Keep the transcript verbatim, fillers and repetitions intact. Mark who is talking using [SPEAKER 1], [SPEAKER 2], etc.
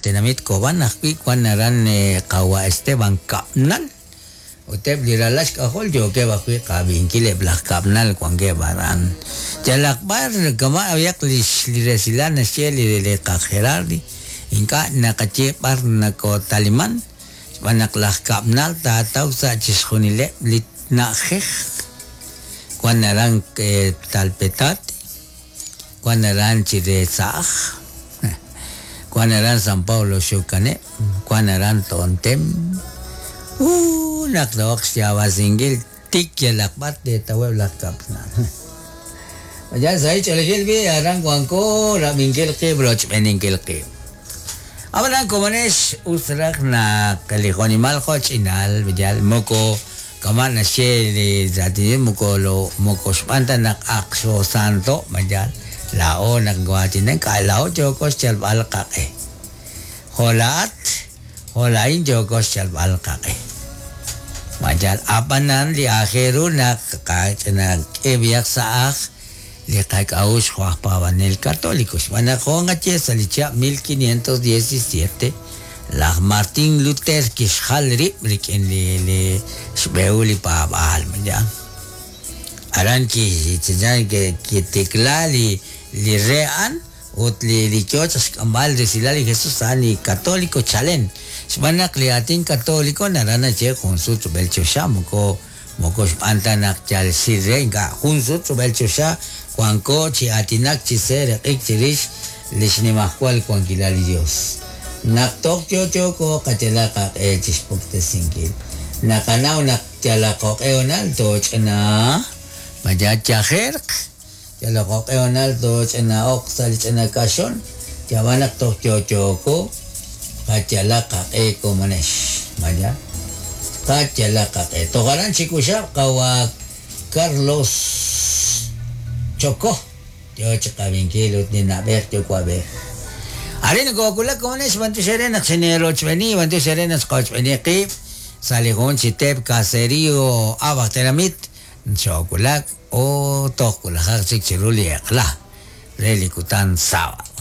[SPEAKER 1] tenamit Cobán ajwi' wan aran qawa Esteban Kab'nal ut eb' li ralal xk'ajol yookeb' ajwi' qab'inkil eb' laj Kab'nal wankeb' aran yalaq b'ar kama' ab'iyaq lix li resilal naxye li li qaj Gerardi ink'a' naqaye b'ar nakotaliman xb'aan naq laj Kab'nal taataw sa' chixjunileb' li na'ajej wan aran Talpetate wan aran Chiretza'aj wan aran San Pablo Xukaneb' wan aran Tontem u naq toq xyaab'asinkil tik yalaq b'ar teetaweb' laj Kab'nal ya sa' ch'olejil bi aran wanko rab'inkil qib' rochb'eninkil qib' ab'anan komonex us raj naq li jonimal jo'ch'inal yal moko kama' naxye li raatinil moko lo moko xb'aan ta naq aq xoosanto mayal laa'o naq waatinen k'a laa'o yooko xyalb'al qaq'e jo' laa'at jo' laa'in yooko xyalb'al qaq'e mayal ab'anan li aajel ru naq qach'inak'e b'iyaq sa' aj li qak'a'uxl jo' aj paab'anel católico xb'aan naq jo' nqaye sa' li chihab' mil quinientos diecisiete laj Martín Luther kixjal rib' rik'in li li xb'ehul li paab'aal mayal aran ki kitikla li li re a'an ut li li yo xk'amb'al resilal li Jesús a'an li católico chalen xb'aan naq li aatin católico naran naxye jun sut rub'el choxa moko moko xb'aan ta naq yal xil re ink'a' jun sut rub'el choxa wanko chi aatinak chi seeraq'ik chirix li xnimajwal wankilal li Dios naq toj yo'yooko qayalaq qaq'e chixpuktesinkil naqanaw naq yalaq jo'q'e honal tooch'ina maya yajerq yalaq jo'q'e honal tooch'ina'oq sa' li ch'ina kaxon yab'an naq toj yo'yooko qayalaq qaq'e komonex maya qayalaq qaq'e toj aran chikuxab' qawa Carlos Chocó yo chiqab'inkil ut ninab'ej yuwa'b'ej Arin nokookulak komonex b'antiox naq xinerochb'eni b'antiox naq xqochb'eni qib' sa' li jun chi teep caserío ab'aj tenamit xookulak o toj kulajaq chik chiru li eq'la re li kutan sábado.